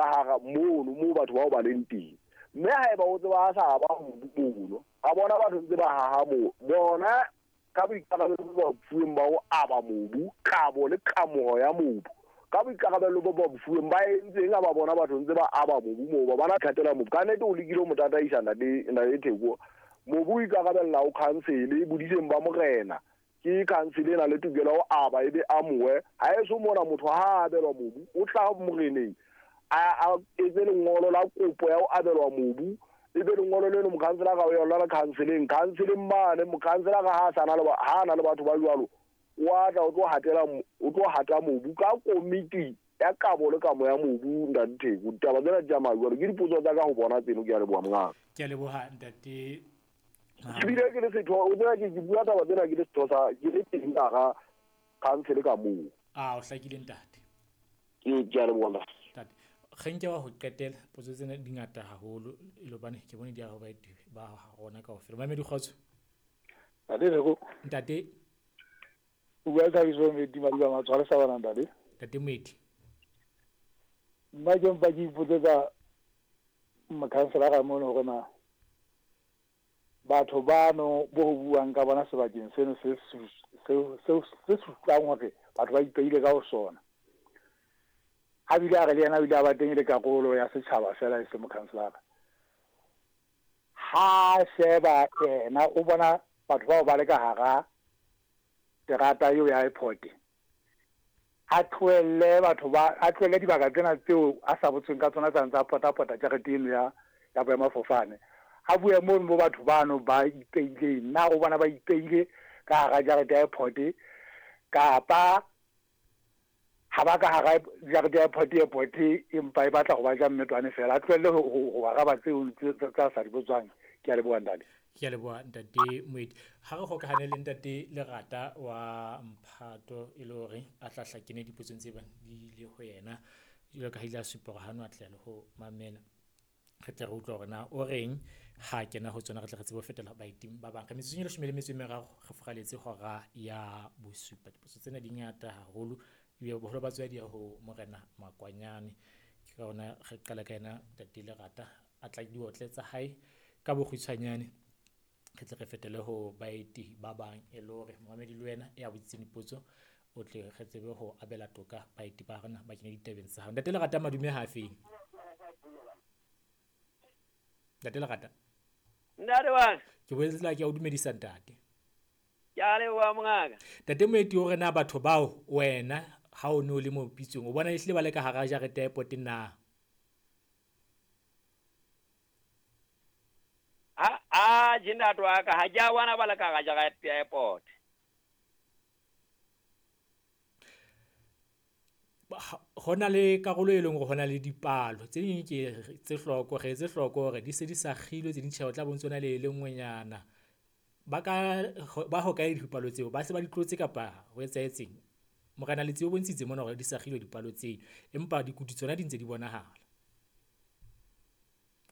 Ka hara mono moo batho bao ba leng teng. Mme haeba o tseba a sa ba mobu mono, a bona batho ntse ba haha moo, bona ka boikarabelo bo ba fuweng ba ho aba mobu, kabo le kamoho ya mobu, ka boikarabelo bo ba fuweng ba entseng ha ba bona batho ntse ba aba mobu moo, ba bana thatela mobu. Ka nnete o lekile ho mo tataisa ntate Theko. Mobu o ikarabella ho council, bodiseng ba morena. Ke council e na le tokelo ya ho aba ebe amohe. Ha eso mona motho ha a abelwa mobu, o tla moreneng a etse lengolo la kopo ya ho abelwa mobu, ebe lengolo leno mokhanselara o yona le councileng. Councileng mane mokhanselara ha a sana le ha na le batho ba jwalo, o a tla o tlo hatela o tlo hata mobu ka komiti ya kabo le kamo ya mobu. Ntate Theko, ditaba tsena di tsamaya jwalo. Ke dipotso tsa ka ho bona tseno. Ke a leboha mongaka. Ke a leboha ntate. Ebile ke le setho, o tseba ke bua taba tsena ke le setho sa ke le teng ka hara council ka moo. A o hlakile ntate. Ke a leboha ntate. Kgeng ke wa ho qetela, potso tsena di ngata haholo e le hobane ke bone di ya ho baeti ba rona kaofela. Mamedi kgotso. Ntate Theko. Ntate. O bua le Thabiso Moeti Madiba Matshware sa bana ntate. Ntate Moeti. Nna ke mpa ke ipotsetsa mokhanselara mono hore na batho bano bo ho buang ka bona sebakeng seno se se supang hore batho ba ipeile ka ho sona. A bile a re le yena o ile a ba teng e le karolo ya setjhaba fela e se mokhanselara. Ha sheba yena o bona batho bao ba le ka hara terata eo ya airport, a tlohelle batho ba a tlohelle dibaka tsena tseo a sa botsweng ka tsona tsa ntsa pota-pota jarete eno ya boemafofane. A bue mono mo batho bano ba ipeileng, na o bona ba ipeile ka hara jarete ya airport kapa ha ba ka hara jarete ya airport, airport empa e batla ho ba ja mmetwane fela. A tlohelle ho araba tseo tsa sa di botswang. Ke a leboha ntate. Ke a leboha ntate Moeti. Ha re hokahane le ntate Lerata wa Mphato e le hore a tla hla kene dipotsong tse bang di ile ho yena, jwalo ka ha ile a supa hore ha no atleha le ho mamela. Re tle re utlwe hore na o reng ha kena ho tsona, re tle re tsebe ho fetela baeting ba bang. Re metsotsong e 17 re furaletse hora ya bosupa. Dipotso tsena di ngata haholo ebile boholo ba tsona di ya ho Morena Makwanyane. Ke ka hona re qala ka yena ntate Lerata, a tla diotle tsa hae ka bokgutshwanyane, re tle re fetele ho baeti ba bang e le hore momamedi le wena ya botsitseng dipotso o tle re tsebe ho abela toka baeti ba rona ba kene ditabeng tsa hao. Ntate Lerata, madume ha feng? Ntate Lerata. Ntate wa. Ke boetse ke a o dumedisa ntate. Ke a leboha mongaka. Ntate Moeti, o re na batho bao wena ha o ne o le mo pitsong o bona ehlile ba le ka hara jarete ya airport na? A je ntate wa ka, ha ke a bona ba le ka hara jarete ya airport. Ho na le karolo e leng hore hona le dipalo tse ding ke tse hloko, re etse hloko hore di se di sa kgilwe, tse ding tjhe o tla bontse hona le le nngwenyana. Ba ka ba hokae dipalo tseo, ba se ba di tlotse kapa ho etsahetseng? Morena Letsie o bontshitse mona hore di sa kgilwe dipalo tseo, empa dikutu tsona di ntse di bonahala.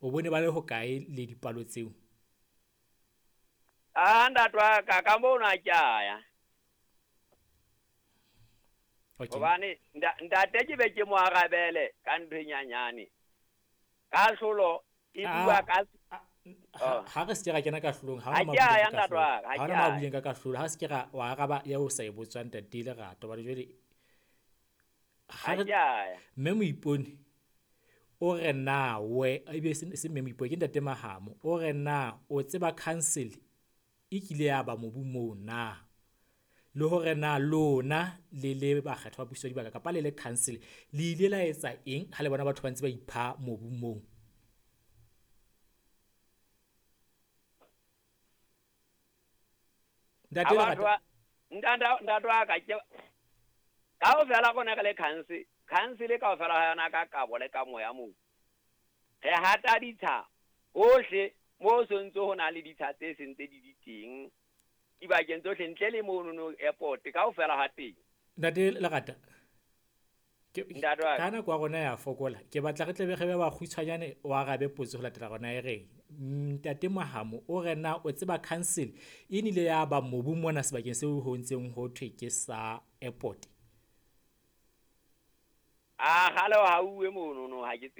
O bone ba le hokae le dipalo tseo? A ntate wa ka, ka mono ha ke a ya. Hobane ntate ke be ke mo arabele ka ntho e nyanyane. Kahlolo e bua ka ha re se ke ra kena kahlolong, ha Ha hona ke a ya ma ntate wa ka, ha ha ke hona a ma ya. buileng ka kahlolo, ha se ke ra wa araba ya o sa e botswang ntate Lerato. Hobane jwale ha Ha re ke a ya. Mme Moipone o re na we ebe se mme Moipone ke ntate Mahamo, o re na o tseba council e kile ya ba mobu moo na? Le hore na lona le le bakgethwa ba puso ya dibaka kapa le le council le ile la etsa eng ha le bona batho ba ntse ba ipha mobu moo? Ntate Lerata. Ntate wa ka, ke kaofela rona re le council, council kaofela ha yona ka kabo le ka moya moo. Re hata ditsha hohle mo sontso ho na le ditsha tse seng tse di di teng dibakeng tsohle ntle le mono no airport kaofela ha teng. Ntate Lerata, Ntate wa ka nako ya rona ya fokola, ke batla re tle be re be bakgutshwanyane o arabe potso ho latela rona e reng. Ntate Mahamo o re na o tseba council e nile ya ba mobu mona sebakeng seo ho ntseng ho thwe ke sa airport? A gale ha uwe mono no ha ke tsebe.